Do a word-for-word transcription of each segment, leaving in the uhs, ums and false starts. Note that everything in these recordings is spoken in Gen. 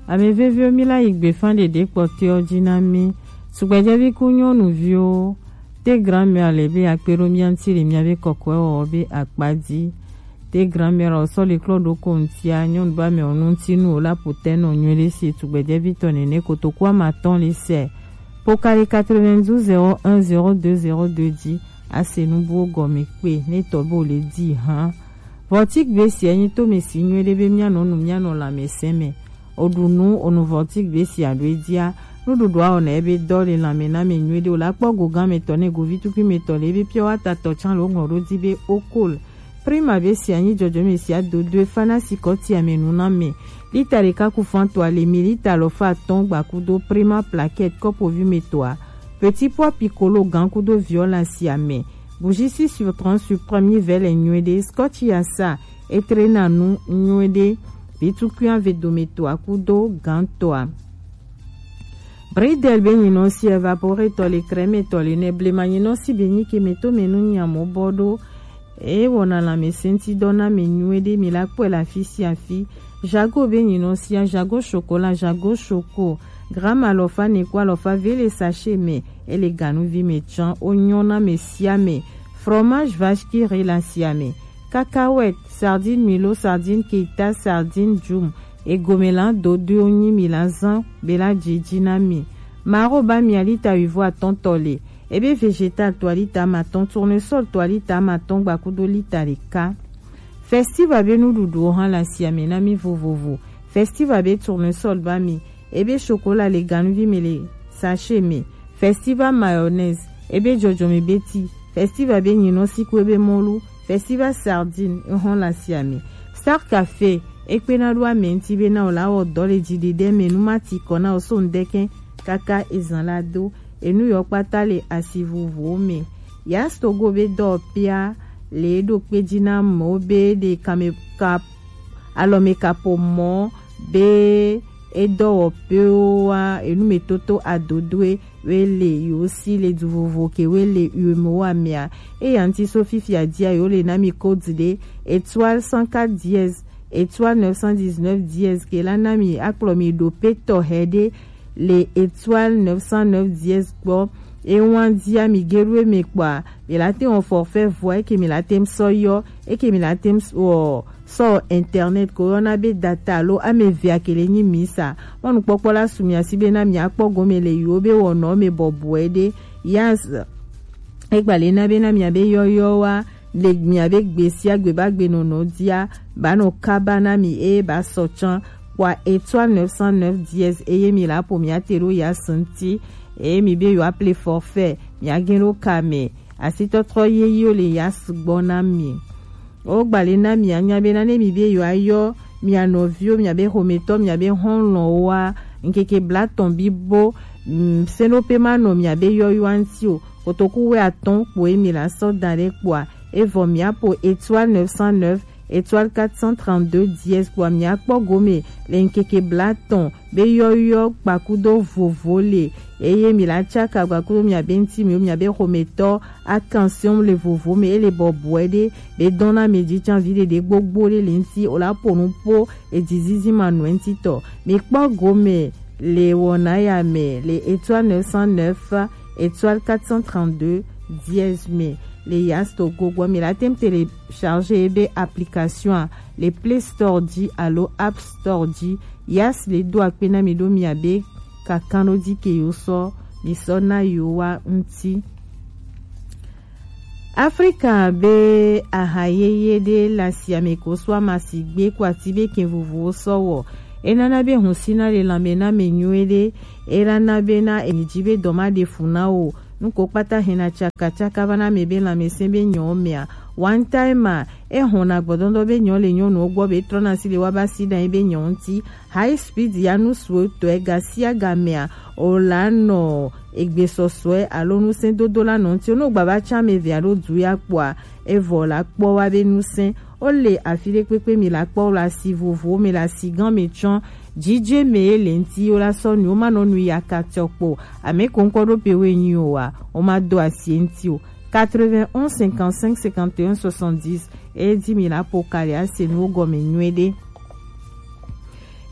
Ame veviwo, mi la yi gbefa ɖeɖe kpɔtɔewo ji na mi. Tugbedzɛvi ku nyɔnuviwo, te grand-mère le be akpe ɖo mia ŋuti le miabe kɔkɔewɔwɔ be akpa ji. Te grand-mère o sɔ le klɔ ɖo ko ŋutia, nyɔnu ba me o nu ŋuti nu o la putɛ nɔ nyuie ɖe si tugbedzɛvi tɔ nene kotoku amatɔn le sɛ. Pokali quatre-vingt-douze zéro un zéro deux zéro deux ji, ase nu buwo gɔme kpe, ne tɔ be o le di hã. Vɔtik be si enyi to me si nyuie ɖe be mianɔ nu, mianɔ lãmesẽ me. O ɖu nu, o nu vɔtik be si aɖo edzia. Nuɖuɖua wɔna ebe dɔ le lãme na me nyuie ɖe, o la kpɔ go gã me tɔ ne govi tukui me tɔ le ebe pure water tɔ tsã le o ŋlɔ ɖo di be o kol. Prima be si anyi dzɔdzɔme si adodoe fana si kɔtia me nu na me. Lita ɖeka ku fan tɔa le mi lita alɔfa atɔ̃ gbakudo Prima plaquette kɔpovi me tɔa. Petit pois piccolo gã kudo violence ya me. Bougie six sur trente sur premier vele nyuie ɖe. Scotch ya sa etrena nu nyuie ɖe. Vitukui ave dome tɔa kudo gã tɔa. Bridel be nyinɔ si evaporetɔ le crème tɔ le ne blema nyinɔ si be nyi ke me to me nu nyamo bɔ ɖo. E wɔna lãmesẽŋutidɔ na mi nyuie ɖe, mi la kpɔe le afi sia afi. Jago be nyinɔ sia, Jago chocolat, Jago choco, gramme alɔfa ne ku alɔfa ve le sachet me, ele ganuvi me tsã, o nyɔ na me sia me. Fromage vache qui rit la sia me. Cacahuète, sardine milo, sardine keita, sardine djum, egome la dodoe wonyi mi la zã be la dzi dzi na mi. Maro ba mi alita wuivo atɔ̃ tɔ le. Ebe végétal to alita amatɔ̃, tournesol to alita amatɔ̃ gbakudo lita ɖeka. Festival be nuɖuɖuwo hã le asiame na mi vovovo. Festival be tournesol ba mi, ebe chocolat le ganuvi me le sachet me. Festival mayonnaise, ebe dzɔdzɔme be ti. Festival be nyinɔ si ku ebe mɔlu. Festival sardine, ehɔn le asiame. Star Café, ekpena ɖo ame ŋuti be na o la wɔ dɔ le dziɖeɖe me, nu ma ti kɔ na o so ŋdɛkɛ kaka ezan la do. Enu yɔ kpata le asi vovovowo me. Yas Togo be dɔwɔƒea le eɖo kpe dzi na amewo be ɖe kame ka alɔmekaƒomɔ be edɔwɔƒewoa enumetoto adodoe we le yewo si le du vovo ke we le uemowoa mea. Eya ŋuti so fifia dia yewo le na mi code ɖe étoile cent quatre dièse étoile neuf cent dix-neuf dièse ke la na mi akplɔ mi ɖo petɔ hɛ ɖe le étoile neuf cent neuf dièse gbɔ. Ewan dia mi geɖo eme kpɔa, mi la te wɔ forfait voix eke mi la te sɔ yɔ, eke mi la te wɔ sɔ internet ko yɔna be data alo ame evea ke le nyi mi sa. Mɔnukpɔkpɔ la su mia si be na mia kpɔ gome le yiwo be wɔnɔ me bɔbɔe ɖe. Yas egba le na be na mia be yɔyɔ wa le mia be gbe sia gbe ba gbe nɔnɔ dia ba nɔ kaba na mi eye ba sɔ tsã kpɔa étoile neuf cent neuf dièse eye mi la ƒo mia te ɖo Yas ŋuti eye mi be yewoa ple forfait mia gẽ ɖo ka me. Asitɔtrɔ yeyewo le Yas gbɔ na mi. Wogba le na mia nya be na ne mi be yewoa yɔ mia nɔviwo, mia be xometɔ, mia be xɔlɔ̃woa, ŋkeke blatɔ̃ bibo, mm, sɛnɖoƒe ma nɔ mia be yɔyɔa ŋuti o. Kotoku wuiatɔ̃ kpoe mi la sɔ da ɖe kpɔa, evɔ mia ƒo étoile neuf cent neuf étoile quatre cent trente-deux dièse kpɔa mia kpɔ gome le ŋkeke blatɔ̃ be yɔyɔ kpakudo vovo le eye mi la tsaka kpakudo mia be ŋuti mi mia be xometɔ akansiɔm le vovo me ele bɔbɔe ɖe be dɔn na mi dzi tsã vi ɖeɖe gbogbo ɖe le ŋuti o la ƒo nu ƒo edzizizi ma nɔe ŋuti tɔ. Mi kpɔ gome le wɔna ya me le étoile neuf cent neuf étoile quatre cent trente-deux dièse me le Yas Togo gbɔ. Mi la te ŋu télécharger ebe application le Play Store dzi alo App Store dzi. Yas le do akpe na mi ɖo mia be kakanɖo dzi ke yewo sɔ mi sɔ na yewoa ŋuti. Afrika be aha yeye ɖe le asiame ko so ama si gbe ko ati be kɛ vovowo sɔ wɔ. Enana be husina le lãme na me nyuie ɖe. Elana be na enyi dzi be dɔ ma ɖe fu na wo. Nu ko kpata hɛna tsakatsaka va na ame be lãmesẽ be nyɔwo mea. One time a, ehɔna gbɔdɔdɔ be nyɔ le nyɔnuwo gbɔ be trɔna si le wa ba si ɖa be nyɔ ŋuti. High speed ya nu suetɔe ga sia ga mea, o la nɔ egbesɔsɔe alo ŋusẽdodo la nɔ ŋuti. Ne wogba va tsã ame evea ɖo du ya kpɔa, evɔ la kpɔ wa be ŋusẽ. Wole afi ɖe kpekpe mi la kpɔ le asi vovowo me le asi gã me tsɔ. Dzidze me ye le ŋuti wo la sɔ nu, wo ma nɔ nu ya ka tsɔ kpɔ. Ame ko ŋkɔ ɖo pe wo enyi o wa, wo ma do asi ŋuti o. Quatre-vingt-onze cinquante-cinq cinquante et un soixante-dix, e di mi la po kali ase nuwo gɔme nyuie ɖe.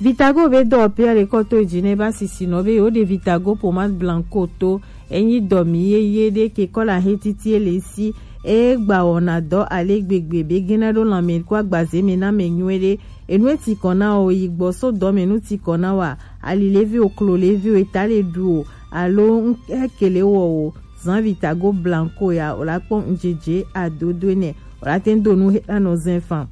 Vitago be dɔ pia le kɔto dzi ne ba sisi nɔ be yo de Vitago pomade blanco to. Enyi dɔ mi ye ye de ke kɔla he titi ele si. E gba wɔna dɔ ale gbegbe be gena ɖo lãme ko agbaze me na me nyuie ɖe. Enu eti kɔna o yi gbɔ so dɔ me nu ti kɔna wa. Ali levi o, klo levi o, eta le ɖu o, alo ŋ-, ekele wɔ o. Zan Vitago blanco ya, o la kpɔ ŋdzedze adodo nɛ. O la te ŋ do nu he anɔ zɛn fan.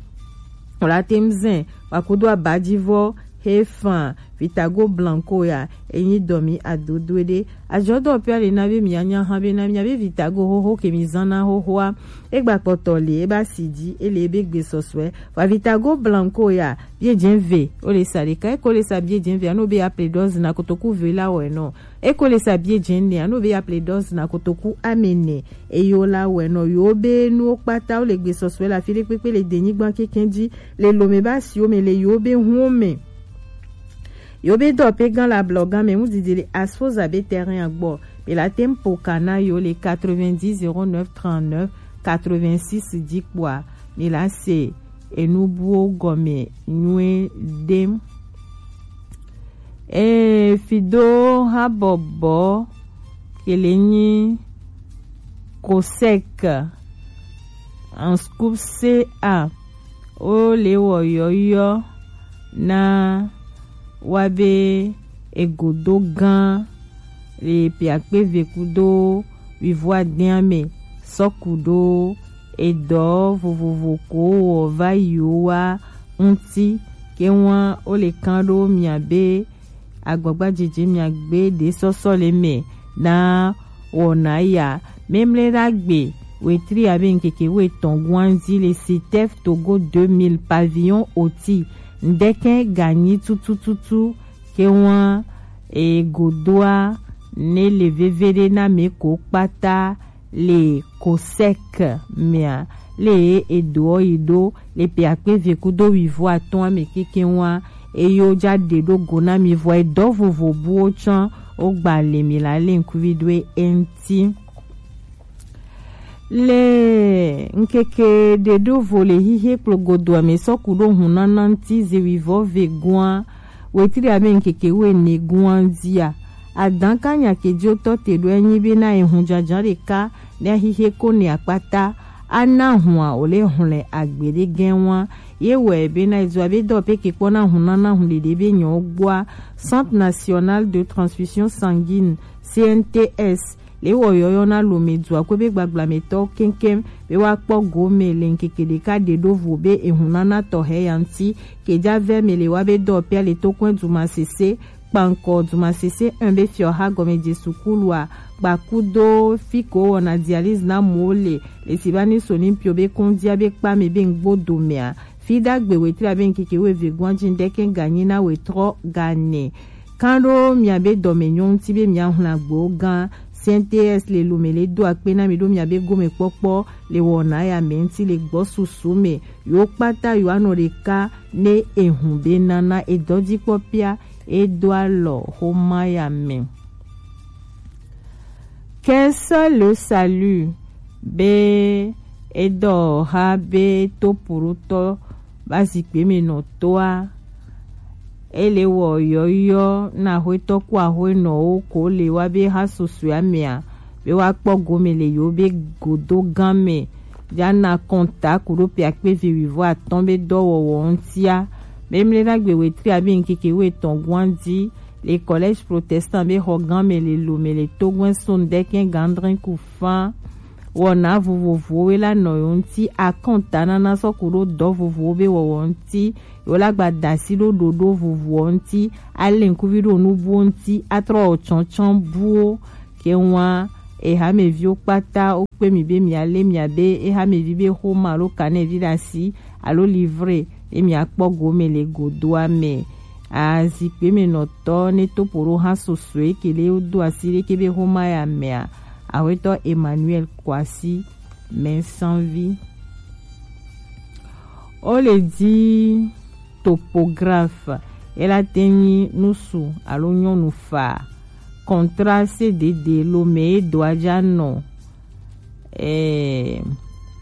O la te ŋ zɛn wa kudo abajivɔ he fan. Vitago blanco ya, enyi dɔ mi adodo ɖe. Ajɔdɔ pia le na be mi anya hã be na mi be Vitago xoxo ke mi zan na xoxoa. E gba kpɔtɔ le, e ba si dzi, e le ebe gbe sɔsɔe. Wa Vitago blanco ya, bie dze ve, o le sa ɖeka, e ko le sa bie dze ve, ano be ya ple dɔzi na kotoku ve la wɔ enɔ. E ko le sa bie dze ne, ano be ya ple dɔzi na kotoku amene. Eyo la wɛ nɔ yo be nuwo kpata wo le gbe sɔsɔe le afi ɖe kpekpe le denyigba keke dzi, le lome ba siwo me, le yo be huwo me. Yo be dɔ pe gan la blɔ gan me mu didi le asfoza be terrain agbɔ. Be la tem po kana yo le quatre-vingt-dix zéro neuf trente-neuf quatre-vingt-six dzi kpɔa. Me la se enubuwo gɔme nyuie ɖem. Ee, fido habɔbɔ kele nyi COSEC en scoop C A, o le wɔ yɔyɔ na wa be egodo gan le piakpe ve kudo wivɔ adɛn me sɔku ɖo edɔ vovovo ko wɔ va yi wo wa ŋuti. Ke ŋua wo le kan ɖo mia be agbagba dzedze mia gbe ɖe sɔsɔ le me na wɔna ya. Memle ɖagbe wetri abe ŋkeke wo etɔn guanzi le Sitef Togo deux mille pavillon oti ŋdɛkɛ ganyi tutututu. Ke ŋua egodoa ne le veve ɖe na me ko kpata le COSEC mea, le edoɔ yi ɖo le pe akpe ve kudo wivɔ atɔn ame keke ŋua, eye wo ja ɖe ɖo go na mi vɔ edɔ vovo buwo tsã wo gba le mi la le ŋkuvi ɖo eŋti. Le ŋkeke ɖe ɖo vo le hihe kplogodoa me sɔ ku ɖo hunana ŋti ze wivɔ ve gua, wetri abe ŋkeke wene gua dzia. Adan ka nya ke dzo tɔ te ɖo enyi be na ehun jajan ɖeka ne ahihe ko ne akpata ana hua o le hlɛ agbe ɖe gɛn wa. Ye wɛ be na edzo abe dɔ pe ke kpɔ na hun nana hun ɖeɖe be nyɔ gbɔa. Centre National de Transfusion Sanguine, C N T S, le wɔ yɔyɔ na lome dua ko be gbagba me tɔ keŋkeŋ be wa kpɔ go me le ŋkeke ɖeka ɖe ɖo vo be ehun nana tɔ hɛ ya ŋti. Ke ja vɛ me le wa be dɔ pia le to kɔn duma sese kpankɔ duma sese un be fiɔ ha gɔme Jesu kulua kpakudo fi ko wɔna dialyse na mo le le si ba ni so ni pio be kondia be kpa me be ŋgbo do mea. Fi dagbe wetri abe ŋkeke wo eve gɔn dzi ŋdɛkɛ ganyi na wetrɔ gane. Kan ɖo mia be dɔme nyɔ ŋti be mia hla gbewo gã. C N T S le lome le do akpe na mi ɖo mia be gome kpɔkpɔ le wɔna ya me ŋti le gbɔ susu me. Yo kpata yo anɔ ɖeka ne ehun be nana edɔ dzi kpɔ pia edo alɔ xoma ya me. Qu'un seul le salut be edɔ ha be to purutɔ ba zikpe me nɔ toa. Ele wɔ yɔyɔ na axwetɔ ku axwenɔwo ko le wa be ha susue amea be wa kpɔ gome le yo be godo gan me. Ja na kɔnta ku ɖo pe akpe ve wivɔ atɔn be dɔwɔwɔ ŋtia. Be mle na gbe wetri abe ŋkeke wo etɔn guan di le collège protestant be xɔ gan me le lo me le togbɛn so ŋdɛkɛ gandrin ku fan. Wɔna vovovowo we la nɔ yo ŋti akɔnta nana sɔ ku ɖo dɔ vovowo be wɔwɔ ŋti. Yo la gba dasi ɖo ɖoɖo vovowo ŋti. Ale ŋkuvi ɖo nubuwo ŋti atrɔ tsɔntsɔn buwo. Ke ŋua ehameviwo kpata wo kpe mi be mia le mia be ehamevi be xoma alo kanɛvi ɖe asi alo livre ye mia kpɔ gome le godoa me. Azikpe me nɔtɔ ne topo ɖo ha sosoe ke le wo do asi ɖe ke be xoma ya mea, axwetɔ Emmanuel Kwasi Mɛnsanvi. Wo le di topographe, ela te nyi nusu alo nyɔnu fa. Contrat C D D lo me e do aja nɔ. Eh,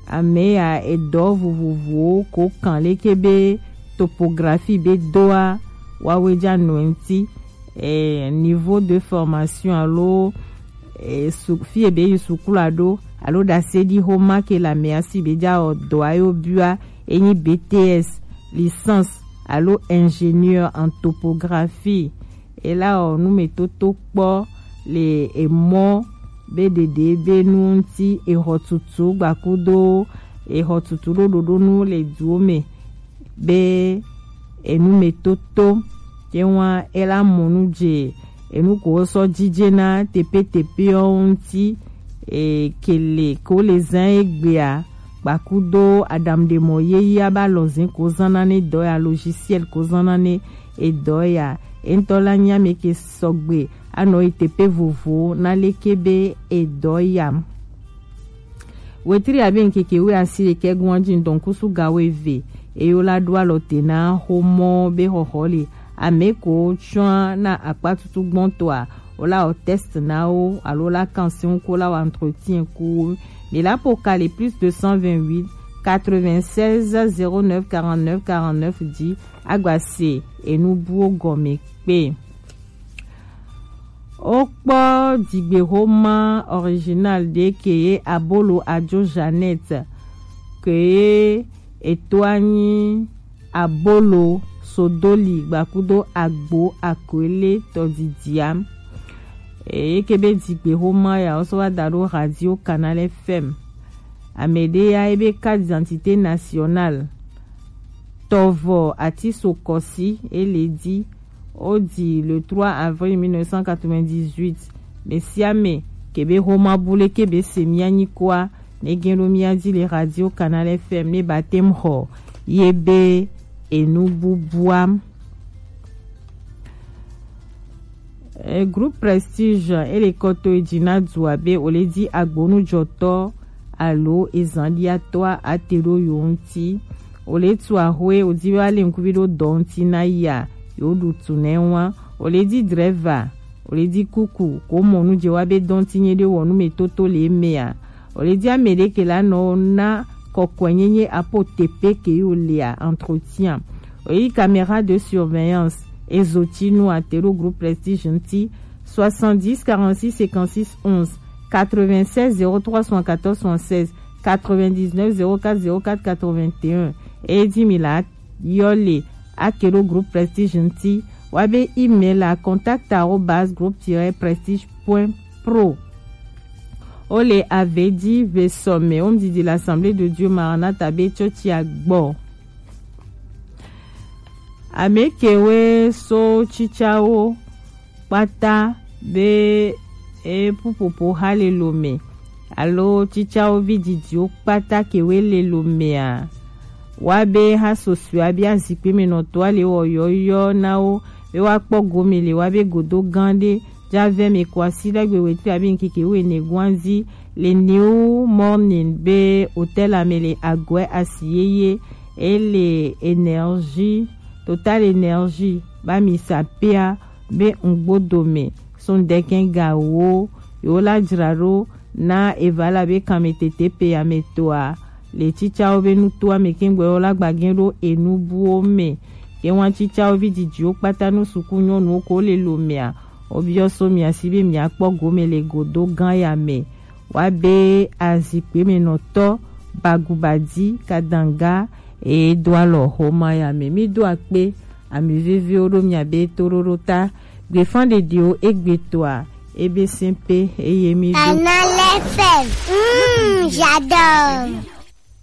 ame ya edɔ vovovowo ko kan leke be topografi be doa, wawe ja nɔ ŋti, eh, niveau de formation alo, eh, su, fi e be yi sukulu aɖo alo ɖase ɖi xoma ke le amea si be ja wɔ dɔ ayo bua, enyi B T S, licence alo ingénieur en topographie. Ela wɔ numetoto kpɔ le emɔ be ɖeɖe be nu ŋti, exɔ tutu gbakudo exɔ tutu ɖo ɖoɖonu le duwo me be enumetoto. Ye wa ela mɔ nu je enu ko sɔ jije na tepe tepe ɔ ŋti, e, kele ko le zan egbea, gbakudo aɖaŋuɖemɔ yeye aba lɔzin ko zan na ne dɔ ya, logiciel ko zan na ne edɔ ya. Entɔ la nya me ke sɔgbe anɔ yi tepe vovo na leke be edɔ ya. Wetri abe ŋkeke we asi ɖekɛ gun aji ŋdɔn kusu ga we ve. Eyo la ɖo alɔ te na xomɔ be xɔxɔ le. Ame ko tsɔa na akpa tutu gbɔntɔa, o la wɔ test na wo, alo la kan si ŋu ko la wɔ entretien ku wo. Mi la po kali plus deux cent vingt-huit, quatre-vingt-seize, zéro neuf, quarante-neuf, quarante-neuf dzi, agba se enu buwo gɔme kpe. Wokpɔ dzigbexoma original ɖe ke ye Abolo Adzo Jeannette, ke ye eto anyi Abolo Sodoli gbakudo Agbo Akoele tɔdidia. Eye ke be dzigbexoma ya wo sɔ va da ɖo Radio Canal F M. Ame ɖe ya ebe carte d'identité nationale tɔvɔ ati so kɔsi ele di. O di le trois avril mille neuf cent quatre-vingt-dix-huit. Mesiame kebe xoma bule kebe se mia nyikoa, ne gen ɖo mia di le Radio Canal F M ne batem xɔ ye be enu bubua. E, groupe Prestige ele kɔto e dzi na dua be o le di agbonujɔtɔ alo ezanɖiatɔa ate ɖo yo ŋti. O le tu axwe, o di be ale ŋkuvi ɖo dɔ ŋti na ya, yo ɖu tu nɛ wa. O le di drɛva, o le di kuku, ko mɔ nu je wa be dɔ ŋti nye ɖe wɔ nu me toto le emea. O le di ame ɖe ke la nɔ na kɔkɔe nyenye apo tepe ke yo lea entretien. O yi caméra de surveillance, ezo tinu ate ɖo groupe Prestige ŋti, soixante-dix, quarante-six, cinquante-six, onze, quatre-vingt-seize, zéro trois, soixante-quatorze, soixante-seize, quatre-vingt-dix-neuf, zéro quatre, zéro quatre, quatre-vingt-un. Edi mi la yɔ le ake ɖo groupe Prestige ŋti, wa be email la contact arobase groupe tiret prestige point pro. O le ave di ve sɔme, o ŋdidi l'Assemblée de Dieu Maranatha be tsɔtsi agbɔ. Ame ke we so tsitsawo kpata be e pupopo ha le lo me, alo tsitsawo vi didiwo kpata ke we le lo mea, wa be ha sosua be azikpe me nɔtɔa le wɔ yɔyɔ na wo be wa kpɔ gome le wa be godo gan ɖe ja vɛ me ko asi ɖagbe wetri abi ŋkeke wene guanzi le New Morning be hotel ame le agɔe asi yeye e le Énergie, Total Énergie ba mi sapea be ŋgbo dome sun dɛkɛn ga wo yo la dzra ɖo na eva la be kanmetete pe ame toa le tsitsawo be nutoa me kengbe wo la gbagɛ ɖo enu buwo me. Ke wan tsitsawo vi didiwo kpata nu suku nyɔnuwo ko le lo mea, o biɔ so mia si be mia kpɔ gome le godo gan ya me. Wa be azikpe me nɔtɔ bagubadi kadanga e do alɔ xoma ya me. Mi do akpe ami veviwo ɖo mia be toɖoɖo ta. Gbefan ɖeɖewo egbe toa ebe sɛn pe eye mi do. Canal F M. Mm, j'adore.